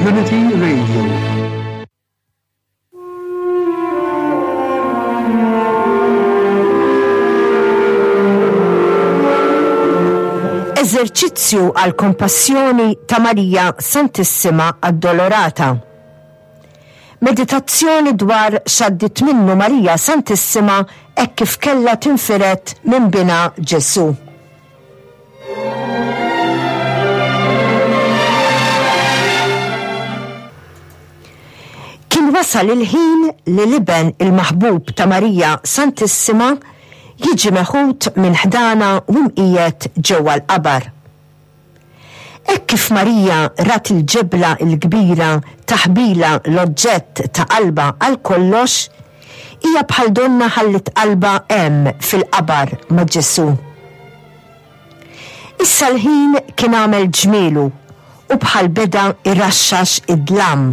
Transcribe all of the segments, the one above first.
Community Radio. Eżerċizzju għal kompassjoni ta' Marija Santissima Addolorata. Meditazzjoni dwar x'għaddiet minnu Marija Santissima hekk kif kellha tinfired minn binha Ġesù. Kien wasal il-ħin li l-Iben il-maħbub ta' Marija Santissima jiġi meħud minn ħdana u mqiegħed ġewwa l-qabar. Hekk kif Marija rat il-ġebla l-kbira taħbilha l-oġġett ta' qalbha għal kollox, hija bħal donnha ħalliet qalbha hemm fil-qabar ma' Ġesù. Issa l-ħin kien għamel ġmielu u bħal beda jraxxax id-dlam.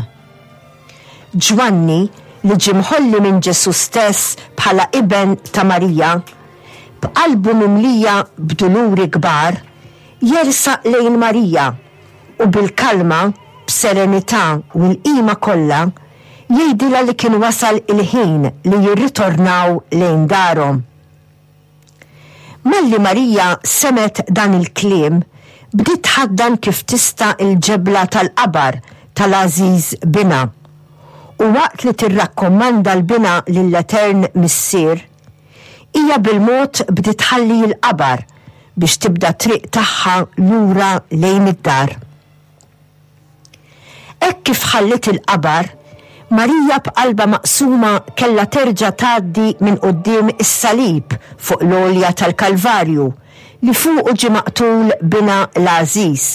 Ġwanni, li ġie mħolli minn Ġesù stess bħala iben ta' Marija, b'qalbu mimlija b'duluri kbar, jersaq lejn Marija u bil-kalma, b'serenità u l-qima kollha, jgħidilha li kien wasal il-ħin li jirritornaw lejn darhom. Malli Marija semgħet dan il-kliem, bdiet tħaddan kif tista' l-ġebla tal-qabar tal-għażiż binha. U waqt li tirrakkommanda l-binha lill-Etern Missier, hija bil-mod bdiet tħalli l-qabar biex tibda t-triq tagħha lura lejn id-dar. Hekk kif ħalliet il-qabar, Marija b'qalbha maqsuma kellha terġa' tgħaddi minn quddiem is-salib fuq l-għolja tal-Kalvarju li fuqu ġie maqtul binha l-għażiż.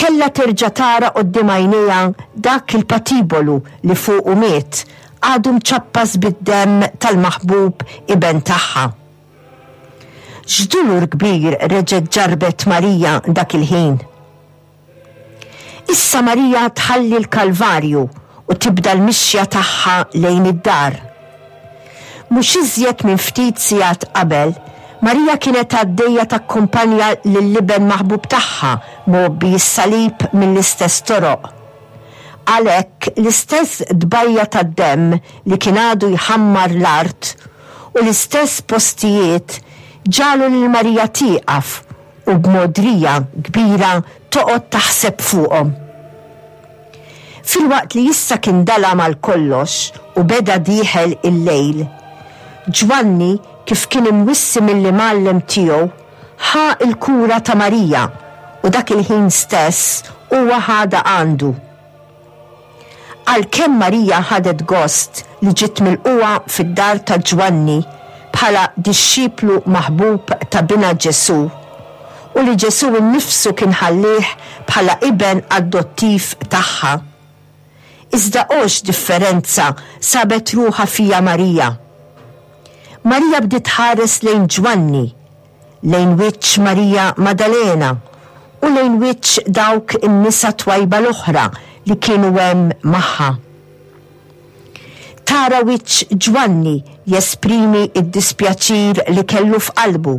Kellha terġa' tara quddiem għajnejha dak il-patibolu li fuqu miet, għadu mċappas bid-demm tal-maħbub iben tagħha. X'dulur kbir reġgħet ġarrbet Marija dak il-ħin! Issa Marija tħalli l-Kalvarju u tibda l-mixja tagħha lejn id-dar. Mhux iżjed minn ftit sigħat qabel, Marija kienet għaddejja takkumpanja lill-iben maħbub tagħha mgħobbi s-salib mill-istess toroq. Għalhekk l-istess tbajja tad-demm li kien għadu jħammar l-art u l-istess postijiet ġagħlu lil Marija tieqaf u b'mogħdrija kbira toqgħod taħseb fuqhom. Filwaqt li issa kien dalam għal kollox u beda dieħel il-lejl, Ġwanni, kif kien imwissi mill-imgħallem tiegħu, ħa l-kura ta' Marija u dak il-ħin stess huwa ħadha għandu. Għalkemm Marija ħadet gost li ġiet milqugħa fid-dar ta' Ġwanni bħala dixxiplu maħbub ta' binha Ġesù, u li Ġesù nnifsu kien ħallieh bħala iben adottiv tagħha, iżda o x'differenza sabet ruħha fiha Marija! Marija bdiet tħares lejn Ġwanni, lejn wiċċ Marija Madalena u lejn wiċċ dawk in-nisa twajba l-oħra li kienu hemm magħha. Tara wiċċ Ġwanni jesprimi d-dispjaċir li kellu f'qalbu.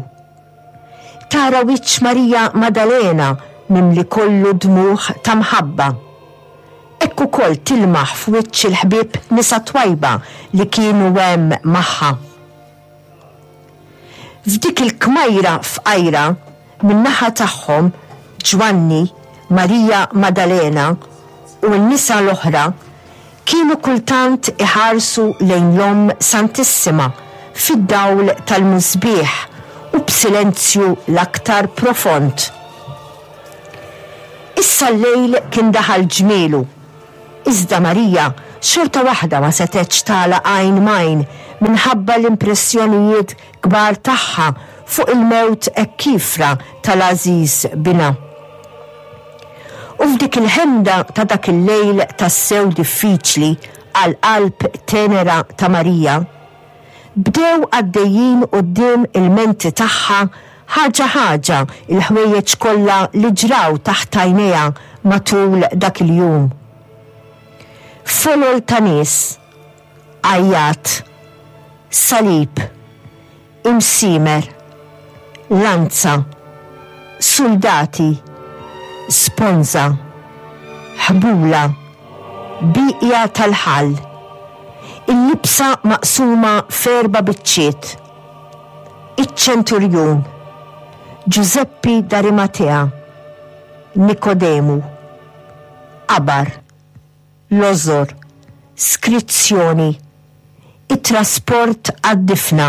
Tara wiċċ Marija Madalena mimli kollu dmugħ ta' mħabba. Hekk ukoll tilmaħ f'wiċċ il-ħbieb nisa twajba li kienu hemm magħha. F'dik il-kmajra fqajra, min-naħa tagħhom, Ġwanni, Marija Madalena, u n-nisa l-oħra kienu kultant iħarsu lejn l-Omm Santissima fid-dawl tal-musbieħ u b'silenzju l-aktar profond. Issa l-lejl kien daħal ġmielu. Iżda Marija xorta waħda ma setgħetx tagħlaq għajn m'għajn minħabba l-impressjonijiet kbar tagħha fuq il-mewt hekk kiefra tal-għażiż binha. U f'dik il-ħemda ta' dak il-lejl tassew diffiċli għall-qalb tenera ta' Marija, bdew għaddejjin quddiem il-menti tagħha ħaġa ħaġa l-ħwejjeġ kollha li ġraw taħt għajnejha matul dak il-jum. Folol ta' nies, għajjat, salib, imsiemer, lanza, suldati, sponża. Ħbula. Bieqja tal-ħall. Il-libsa maqsuma f'erba' biċċiet. Iċ-ċenturjun. Ġużeppi d'Arimatea. Nikodemu. Qabar. Lożor. Skrizzjoni. It-trasport għad-difna.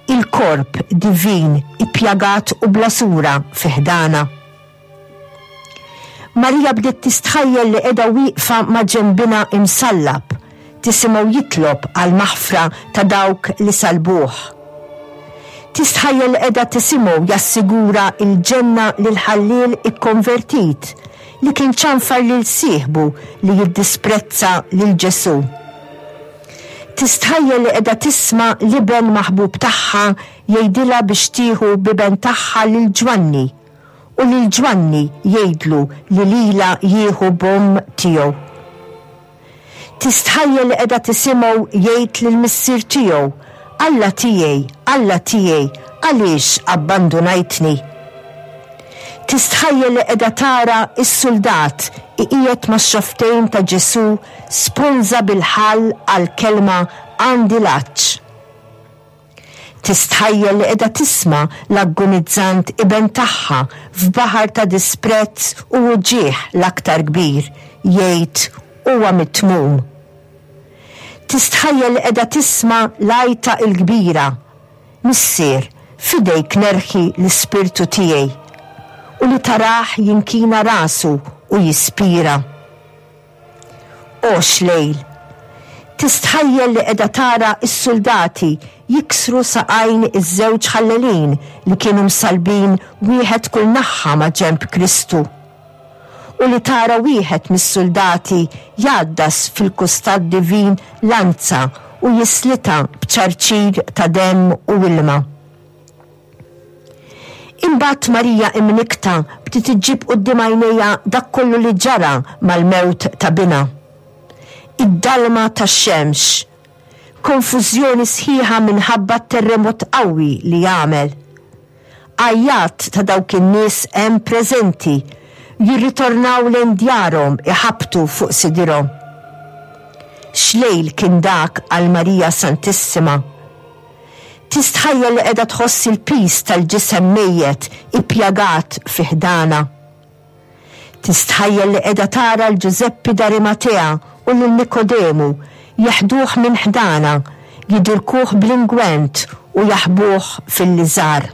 Il-korp divin ippjagat u bla sura fi ħdanha. Marija bdiet tistħajjel li qiegħda wieqfa ma' ġenbinha imsallab, tisimgħu jitlob għall-maħfra ta' dawk li sallbuh. Tistħajjel li qiegħda tisimgħu jassigura l-ġenna lill-ħalliel ikkonvertit li kien ċanfar lil sieħbu li jiddisprezza lil Ġesù. Tistħajjel li qiegħda tisma' l-iben maħbub tagħha jgħidilha biex tieħu b'iben tagħha lil Ġwanni u lil Ġwanni jgħidlu li lilha jieħu b'omm tiegħu. Tistħajjel li qiegħda tisimgħu jgħid lill-Missier tiegħu, Alla tiegħi, Alla tiegħi, għaliex abbandunajtni? Tistħajjel li qiegħda tara s-suldat iqiegħed max-xofftejn ta' Ġesù sponża bil-ħall għall-kelma għandi l-għatx. Tistħajjel li qiegħda tisma' l-aggonizzant iben tagħha f'baħar ta' disprezz u uġigħ l-aktar kbir jgħid huwa mitmum. Tistħajjel li qiegħda tisma' l-għajta l-kbira, Missier, f'idejk nerħi l-ispirtu tiegħi, u li tarah jinkina rasu u jispira. O x'lejl! Tistħajjel li qiegħda tara s-suldati jiksru saqajn iż-żewġ ħallelin li kienu msallbin wieħed kull naħha ma' ġenb Kristu. U li tara wieħed mis-suldati jgħaddas fil-kustat divin lanza u jislitha b'ċarċir ta' demm u ilma. Imbagħad Marija imnikkta bdiet iġġib quddiem għajnejha dak kollu li ġara mal-mewt ta' binha. Id-dalma tax-xemx. Konfużjoni sħiħa minħabba t-terremot qawwi li għamel. Għajjat ta' dawk in-nies hemm preżenti jirritornaw lejn djarhom iħabbtu fuq sidirhom. X'lejl kien dak għal Marija Santissima! Tistħajjel li qiegħda tħoss il-piż tal-ġisem mejjet ippjagat fi ħdanha. Tistħajjel li qiegħda tara 'l Ġużeppi d'Arimatea u lil Nikodemu jeħduh minn ħdanha, jidilkuh bl-ingwent u jaħbuh fil-liżar.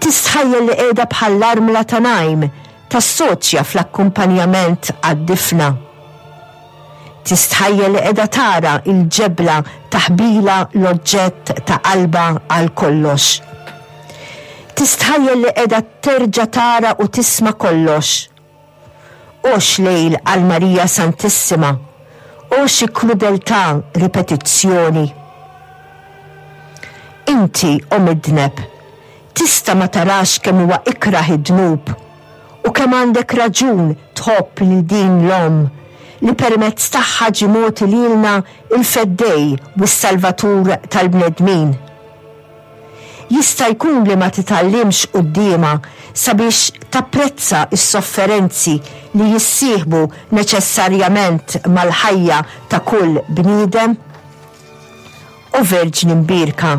Tistħajjel li qiegħda bħall-armla ta' Najm tassoċja fl-akkumpanjament għad-difna. Tistħajjel li qiegħda tara l-ġebla taħbilha l-oġġett ta' qalbha għal kollox. Tistħajjel li qiegħda terġa' tara u tisma' kollox. O x'lejl għal Marija Santissima! O xi krudeltà ripetizzjoni! Inti, o midneb, tista' ma tarax kemm huwa ikrah id-dnub U kemm għandek raġun tħobb lil din l-Omm, li permezz tagħha ġie mogħti lilna l-Feddej u s-Salvatur tal-bnedmin! Jista' jkun li ma titgħallimx quddiemha sabiex tapprezza s-sofferenzi li jissieħbu neċessarjament mal-ħajja ta' kull bniedem? O Verġni Mbierka,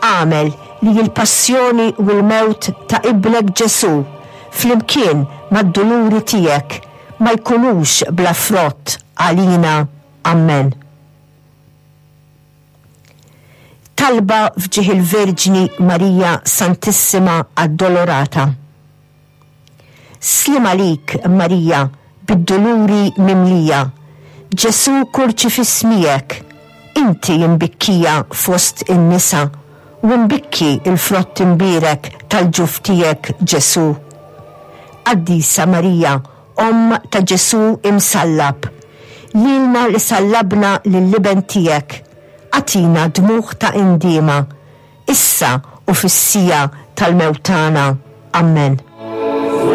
agħmel li l-passjoni u l-mewt ta' Ibnek Ġesù, flimkien mad-duluri tiegħek, ma jkunux bla frott għalina. Ammen. Talba f'ġieħ il-Verġni Marija Santissima Addolorata. Sliem għalik, Marija, bid-duluri mimlija, Ġesù kurċifiss miegħek, inti imbikkija fost in-nisa, u mbikki l-frott imbierek tal-ġuf tiegħek, Ġesù. Qaddisa Marija, Omm ta' Ġesù imsallab, lilna li sallabna lill-Iben tiegħek, agħtina dmugħ ta' indiema, issa u fis-siegħa tal-mewt tagħna. Ammen.